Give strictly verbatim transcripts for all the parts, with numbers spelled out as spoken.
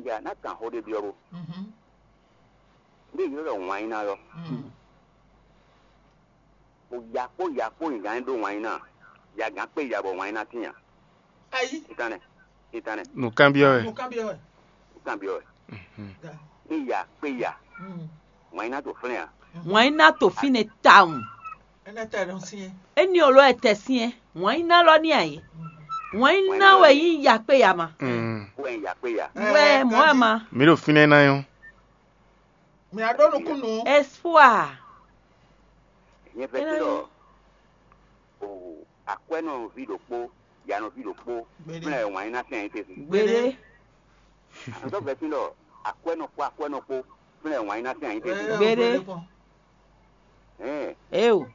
Ja ná kan xó ɖé byɔ́ bó. Ndé ylɔ́ ɖɔ wǎn nyi ná lɔ. Bó ya kpó ya kpó nyǐgán ɖó wǎn nyi ná. Ya gǎn kpé ya bɔ wǎn nyi ná tín a? Ayi. Titánɛ. Titánɛ. Nǔkanbyɔ́ wɛ. Nǔkanbyɔ́ wɛ. Nǔkanbyɔ́ wɛ. Ní ya kpé ya. Wǎn nyi ná to flɛ́n a? Wǎn nyi ná to fínɛ́ tawun. Énɛ́ tɛ nɔ syɛ́n. Éní oló ɛ tɛ syɛ́n. Wǎn nyi ná lɔ ní ayé. Wǎn nyi ná wɛ yí ya kpé ya ma. Wɛ ya kpé ya. Wɛ mɔ̌ ɛ ma. Mi ɖo fínɛ́ ná nyɔ́. Mi a ɖó nukúnnú. Espoir. Nyɛ fɛ tí ɖɔ o akwɛ́nɔví ɖokpó, yanɔví ɖokpó, Gbéɖé. Flɛ́ wǎn nyi ná sɛn ayé tɛ́ntin. Gbéɖé. Ntɔ́ fɛ tí ɖɔ akwɛ́nɔ kpó akwɛ́nɔ kpó, flɛ́ wǎn nyi ná sɛn ayé tɛ́ntin. Gbéɖé. Hɛn. Eo.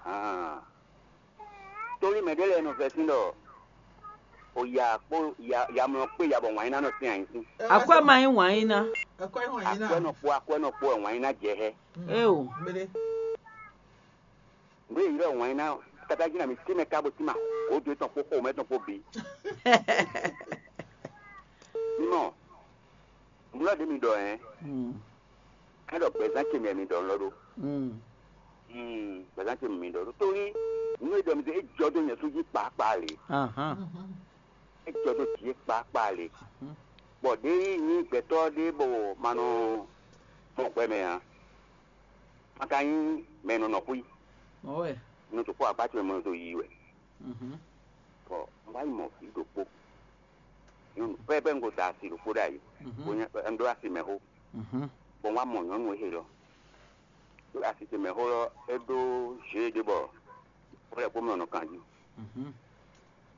Ahan. Torí mɛ ɖé lɛ́ɛ nɔ vɛ́ sín ɖɔ o ya kpó ya yamlɔ kpé ya bɔ wǎn nyi ná nɔ sín ayǐ sín. Akwɛ́ ma nyí wǎn nyi ná. Akwɛ́ wǎn nyi ná. Akwɛ́nɔ kpó akwɛ́nɔ kpó wɛ wǎn nyi ná jɛ hɛ. Eo. Gbéɖé. Nǔ e ylɔ́ wǎn nyi ná káká jí na mi tínmɛ ká bó tín ma gǒdo tɔn kpó xomɛ tɔn kpó bǐ. Mímɔ, nǔ lɔ ɖé mi ɖɔ hɛn. Ká ɖɔ gbɛzán ce mɛ mi ɖɔ lɔ ɖó. Gbɛzán ce mi ɖɔ ɖó. Torí nú e ɖɔ mi é jɔ dó nyɛ sú jí kpákpá lě. É jɔ dó jǐ é kpákpá lě. Bɔ ɖěe nyí gbɛtɔ́ ɖé bɔ ma nɔ mɔ gbɛ mɛ ǎ. Ma ka nyí mɛ e nɔ nɔ xwí. Nɔ tó kpó agbácɔ e mɔ to yi wɛ. Bɔ un wá yi mɔ vǐ ɖokpó. Nyɔnu pɛ́pɛ́ un ko da asi ɖokpó ɖ'ayǐ. Bó nyɛ un ɖó asi mɛ xó. Bɔ un wá mɔ nyɔ̌nu e lɔ. Ɖó asi ce mɛ xó lɔ é ɖó zě ɖé bɔ xó lɛ́ɛ kpó mɛ nɔ kan jí.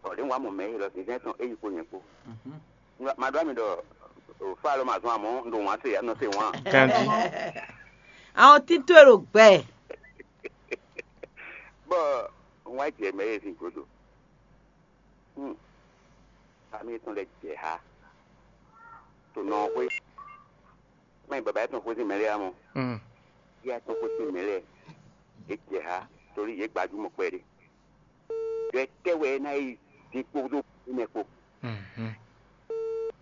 Bɔ ɖě un wá mɔ mɛ e lɔ zǐnzɛ́n tɔn é yi kpo nyɛ kpó. Ma ɖó ami ɖɔ fá lɔ ma zɔn amɔ̌ un ɖo wǎn se nɔ se wǎn. Ganjí. Àwọn títú èrò gbɛ. Bɔ un wá jɛ mɛ e sin godo. Fami etɔn lɛ jɛ ha to nɔ xwé. Mɛ baba etɔn xwé sin mɛ lɛ amɔ. Yɛ etɔn xwé sin mɛ lɛ. Yě jɛ ha torí yě gbajúmɔ kpɛɖé. Ɖɔ etɛ́ wɛ é ná yi dín kpódó mɛ kpó?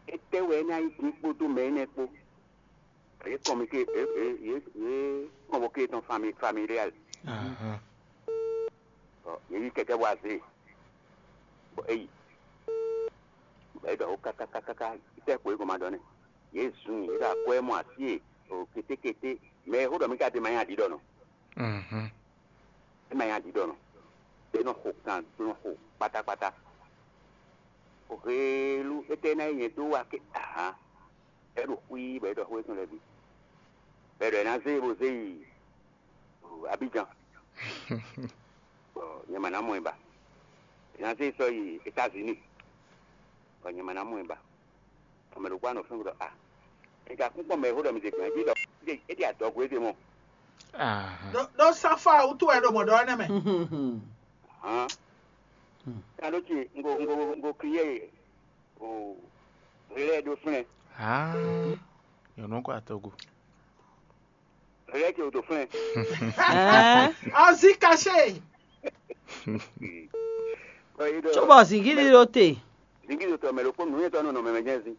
Etɛ́ wɛ é ná yi dín kpódó mɛ énɛ́ kpó? Yě kɔn mi ke yě yě yě kɔn bɔ ke tɔn fami familial. Bɔ yě yi kɛkɛ bɔ azé. Bɔ é yi. Bɔ é ɖɔ kákákákáká. Tɛ́ ko é gɔn ma ɖɔ nɛ́. Yě zun yě ɖo akwɛ́ mɔ así e o kétékété. Mɛ e xó ɖɔ mí ka ɖe ma nyí aɖǐ ɖɔ nɔ. É ma nyí aɖǐ ɖɔ nɔ. É nɔ xo kan, é nɔ xo kpátákpátá. Hwelu étɛ́ ná nyí nyɛ dó wa ké ahan. É ɖo xwíí bɔ é ɖɔ xó étɔn lɛ́ɛ bǐ. Bɔ é ɖɔ é ná zé e bó zé yi Abidjan. Bɔ nyɛ ma ná mɔ ɛ ba. É ná zé e sɔ́ yi États-Unis. Bɔ nyɛ ma ná mɔ ɛ ba. Bɔ mɛ ɖokpó anɔ fɛ́n ɖɔ a. È ka kún kpɔ́n mɛ e xó ɖɔ mi ɖe gbɛ̌ jí ɖɔ é ɖi adɔgo éɖe mɔ. Ɖó ɖó sáfá wútu wɛ ɖo mɔ̌ ɖɔ énɛ́ mɛ. Hán. Kan ɖó ce un ko un ko un ko kiyé o lɛ ɖó flɛ́n. Aa, nyɔ̌nu kɔ atɔgo. Lɛ ce o ɖó flɛ́n. Azí kaṣé. Cóbɔ zǐngídi ɖó te. Zǐngídi ɖó tɔ mɛ ɖokpó nǔnywɛ́tɔ́ nɔ nɔ mɛ mɛ jɛ́n zín.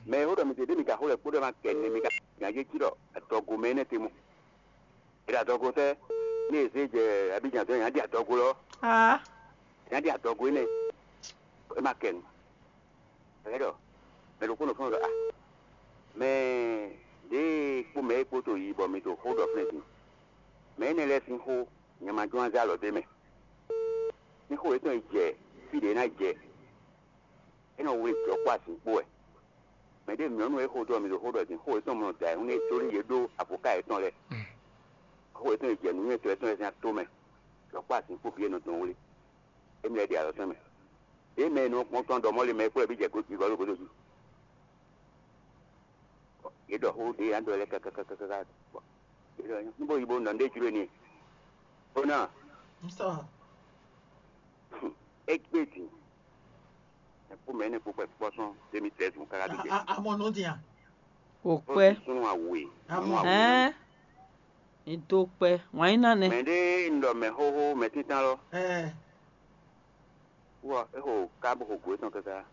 Mɛ e xó ɖɔ mi ɖe ɖé mi ka xó lɛ kpó ɖɔ ma kɛ nɛ mi ka gǎn jé cí ɖɔ adɔgo mɛ énɛ́ te mɔ. È ɖo adɔgo tɛ́ ní è zé jɛ Abidjan dɔn yǎ ɖi adɔgo lɔ. Yǎ ɖi adɔgo énɛ́. É ma kɛ nu. Ɛlɛ ɖɔ mɛ ɖokpó nɔ fún ɖɔ a mɛ ɖěe kpó mɛ e kpó to yi bɔ mi to xó ɖɔ flɛ́n din. Mɛ énɛ́ lɛ́ɛ sín xó nyɛ ma jɔ́n azé alɔ dó mɛ. Ní xó yětɔn yi jɛ fí ɖě ná jɛ. É nɔ wlí jɔ̌ kpó azǐn kpó wɛ. Mɛ ɖé nyɔ̌nu e xo dó ɔ́, mi ɖo xó ɖɔ din xó yětɔn mɔ da ayǐhún nú é tóli yě ɖó avoká yětɔn lɛ́ɛ. Xó yětɔn yi jɛ nǔnywɛ́tɔ́ yětɔn lɛ́ɛ sín atómɛ. Jɔ̌ kpó azǐn kpó bǐ e nɔ dɔn wlí. Émi lɛ́ɛ ɖe alɔ tɔn mɛ. Ɖěe mɛ e nɔ kpɔ́n tɔn ɖɔ mɔ̌ lé mɛ é kplɔ́ bí jɛ gǒ jǐ gɔ́ ɖo gǒdo jí. Yě ɖɔ xó ɖě yě ná ɖɔ lɛ́ɛ kákákákáká. Yě ɖɔ nú bó yi bó nɔ ɖé jló n'i. Bó ná. É gbé din. Ɛ kpó mɛ énɛ́ kpó kpɛ kpɔ́ sɔ́n deux mille treize mɔ káká ɖo jɛ. Amɔ nɔ din a? O kpɛ. Súnnu awe. Amɔ. Hɛn. Ndo kpɛ. Wǎn yí ná nɛ. Mɛ ɖé un ɖɔ mɛ xóxó mɛ títán lɔ. Ɛɛ. Wɔ é xo ká bó xo gǒ étɔn káká.